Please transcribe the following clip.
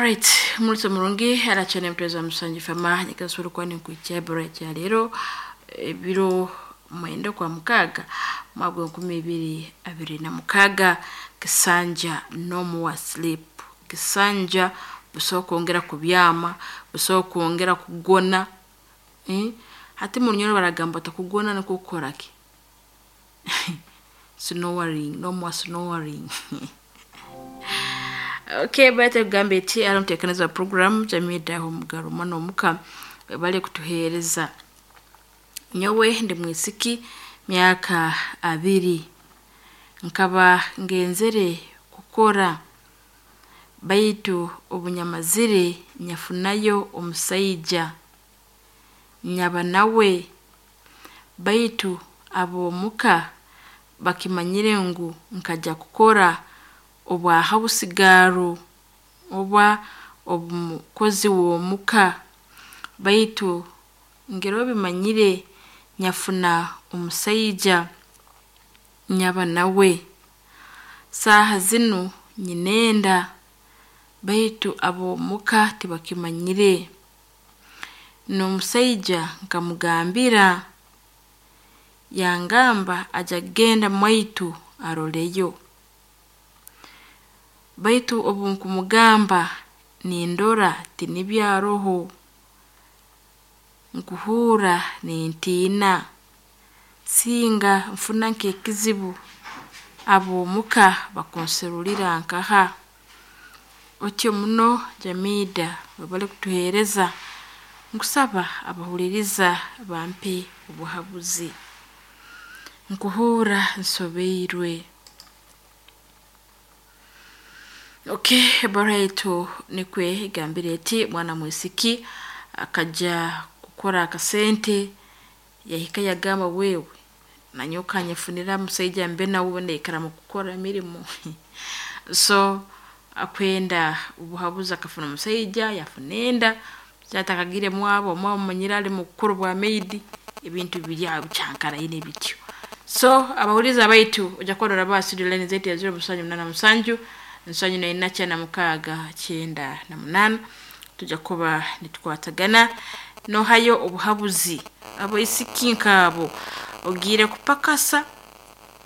Alright, mulisa murungi arachane mutweza musanji fama nyikasuru kwani nkuicha bora cha lero ebiro mwenda kwa mukaga mwaka 2026 kisanja no more sleep. Kisanja busobola kwongera kubyama, busobola kwongera kugona. Hati mu Runyoro baragamba takugona nikwo kukora ki? Snoring, no more snoring. Okay, baita kugamba eti ari omuteekaniza wa program Jamida Omugaro mwana omuka bali kutuheereza. Nyowe ndi mwisiki myaka 20 nkaba ngenzere kukora baitu obunyamazire nyafunayo omusaija nyaba nawe baitu ab'omuka bakimanyire ngu nkaja kukora obwa hausigaro oba omukozi w'omuka baitu ngero bimanyire nyafuna omusaija nyaba nawe. Saaha zinu nyinenda baitu ab'omuka tibakimanyire. N'omusaija nkamugambira yangamba aja kugenda mwaitu aroleyo. Baitu obu nkumugamba nindora tinibyo aroho, nkuhuura nintiina singa nfuna nk'ekizibu ab'omuka bakunserulira nkaha. Otyo muno Jamida webale kutuheereza nkusaba abahuliriza bampe obuhabuzi. Nkuhuura nsobeirwe. Okay, ebbaruha yaitu nikwe egambire eti mwana mwisiki akaja kukora akasente yahika yagamba wewe nanyowe kanyefunira musaija mbe nawe naikara mukukora emirimo. So akwenda obuhabuzi akafuna omusaija yafuna enda atakagire mwabo, omwabo mumanyire ali mukukora obwa maid ebintu biri aho bikyankaraine bityo. So abahuliriza baitu ojja kuba noraba studio line zaitu ya 0787 74 96 98 tujja kuba nitukwatagana nohayo obuhabuzi abaisiki nkaabo ogiire kupakasa.